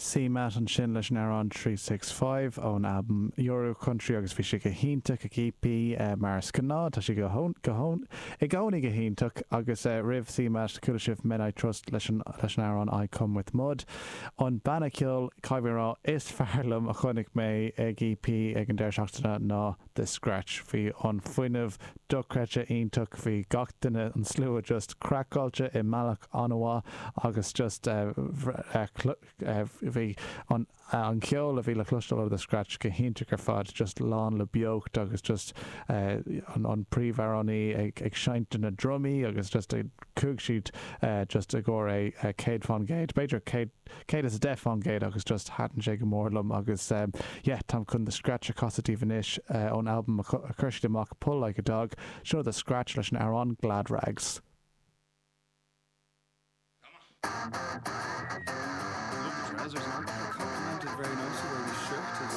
CMAT ansin leis an amhrán 365 ón albam Euro Country agus bhí sé go hiontach ag EP mar is gnáth, tá sé go i gcónaí go hiontach agus roimh CMAT chuala sibh Men I Trust leis an leis an amhrán I Come With Mud. An banna ceoil, caithfidh mé a rá, is fearr liom a chonaic mé ag EP ag an deireadh seachtaine ná The Scratch. Bhí an fuinneamh dochreidte iontach, bhí gach duine, an slua just craiceáilte i mbealach an-mhaith agus just bhí an an ceol a bhí le cloisteáil ó The Scratch go hiontach ar fad, just lán le beocht agus just an an príomhamhránaí ag ag seinnt na ndrumaí agus just chuaigh siad just i gcomhair é 100%, b'fhéidir 100 110% agus just thaitin sé go mór liom agus yeah táim chun The Scratch a chasadh daoibh anois ón albam a chuir siad amach Pull Like a Dog, seo The Scratch leis an amhrán Glad Rags. Love the trousers, man.